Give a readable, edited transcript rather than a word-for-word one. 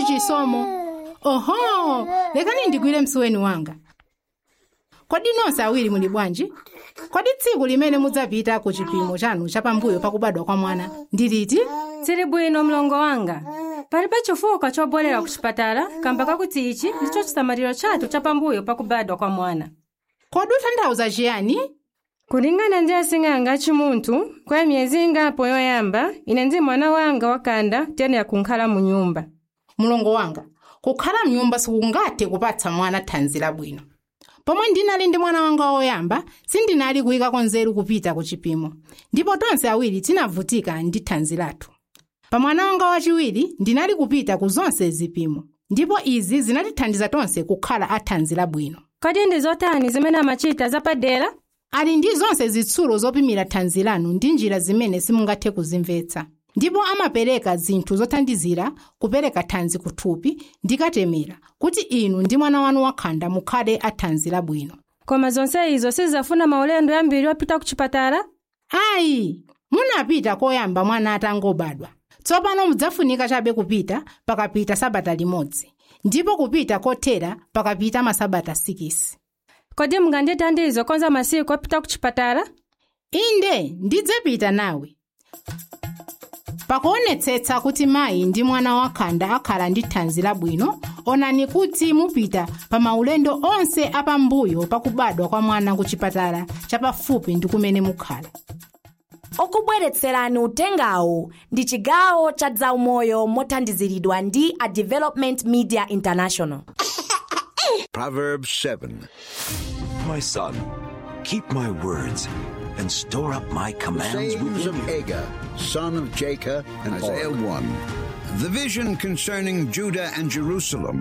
Chisomo? Oho, lekani ndigwire msuweni wanga. Kodi nonse awiri muli bwanji? Kodi tsiku limene mudzapita ku chipimo chanu chapambuyo pakubadwa kwa mwana ndi liti? Tsili bwino, mlongo wanga. Palibe chifukwa chobwerera ku chipatala kamba kakuti ichi ndicho chisamaliro chathu chapambuyo pakubadwa kwa mwana. Kodi ukutanthauza chiyani? Kulingana ndi asing'anga achimunthu, kwa miyezi ingapo yoyamba, ine ndi mwana wanga wakhanda tiyenera kunkhala mu nyumba. Mulongo wanga, kukhala mnyumba sikungathe kupatsa mwana thanzi labwino. Pomwe ndinali ndi mwana wanga woyamba, sindinali kuyikako nzeru kupita ku chipimo, ndipo tonse awiri tinavutika ndi thanzi lathu. Pa mwana wanga wachiwiri ndinali kupita ku zonse zipimo, ndipo izi zinatithandiza tonse kukhala athanzi labwino. Kodi ndi zotani zimene amachita zapadera? Ali ndi zonse zitsulo zopimira thanzi lanu ndi njira zimene simungathe kuzimvetsa, ndipo amapereka zinthu zothandizira kupereka thanzi kuthupi ndikatemera kuti inu ndi mwana wanu wakhanda mukhale athanzi labwino. Koma zonse izo sizafuna maulendo ambiri opita ku chipatala? Ayi, munapita koyamba mwana atangobadwa. Tsopano mudzafunika chabe kupita pakapita sabata limodzi, ndipo kupita kothera pakapita masabata 6. Kodi mungandithandize kukonza masiku opita ku chipatala? Inde, ndidzapita nawe. Pakuonetsetsa kuti mayi ndi mwana wakhanda akhala ndi thanzi labwino, onani kuti mupita pa maulendo onse apambuyo pakubadwa kwa mwana ku chipatala chapafupi ndi kumene mukhala. Okubweretserani utengawu ndi chigawo cha zaumoyo mothandiziridwa ndi a Development Media International. Proverbs 7. My son, keep my words and store up my commands Sayings within of you. Agur, son of Jacob, and Isaiah 1. The vision concerning Judah and Jerusalem.